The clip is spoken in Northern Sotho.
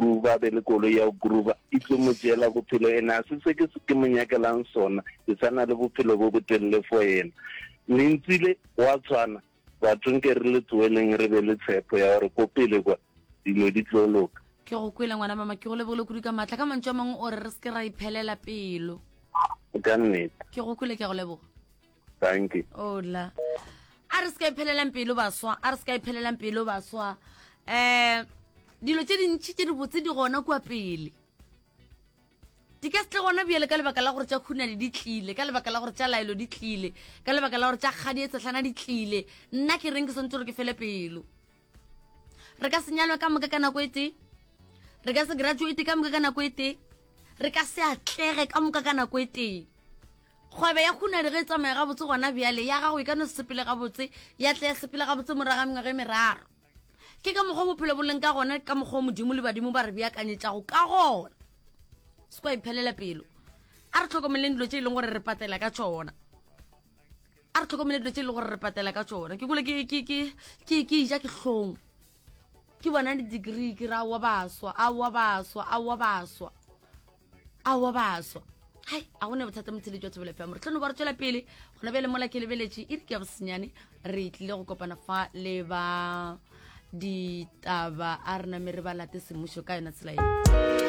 groova, a be le koloi ya go groova, e tlo mo tšeela bophelo. Ene a se se ke ke mo nyakelang sona, ke sa na le bophelo bo botelele for yena. Lentsi le, gwa tshwana, batho nke re le tsoeleng re be le tshepo ya gore ko pele kwa dilo di tlo loka. Ke go kwele ngwana mama, ke go lebogile kudu ka maatla. Ka mantšu a mangwe o re re se ke ra iphelela pelo. Ka nnete. Ke go kwele, ke a go leboga. Thank you. Ola. A re se ka iphelelang pelo baswa, a re se ka iphelelang pelo baswa. Eh dilo tše dintši tše dibotse di gona kua pele. Di ka se tle gona bjale ka lebaka la gore tša khunadi di tlile, ka lebaka la gore tša laelo di tlile, ka lebaka la gore tša kgadi e tshehlana di tlile. Nna ke reng ke swantse gore ke fele pelo. Re ka se nyalwe ka moka ka nako e tee. Re ka se graduate ka moka ka nako e tee. Re ka se atlege ka moka ka nako e tee. Kgwebo ya khunadi ge e tsamaya gabotse gona bjale, ya gago e ka no se sepele gabotse, ya tla ya sepela gabotse morago ga mengwaga e meraro. Ke ka mokgwa bophelo bo leng ka gona, ka mokgwa Modimo le badimo ba re beakanyetšago ka gona. Se kwa iphelela pelo. A re tlhokomeleng dilo tše e leng gore re patela ka tšona. A re tlhokomele dilo tše e leng gore re patela ka tšona. Ke kule ke ke ke ke ke ja ke hlong. Ke bona di-degree ke ra wa baswa, aowa baswa, aowa baswa. Aowa baswa. Hai, a gone bothata motheletši wa Thobela FM. Re tlo no ba re tšwela pele gona bjale mola ke lebeletše e re ke ya bosenyane re tlile go kopana fa le ba ditaba a re name re ba late semmušo ka yona tsela ye.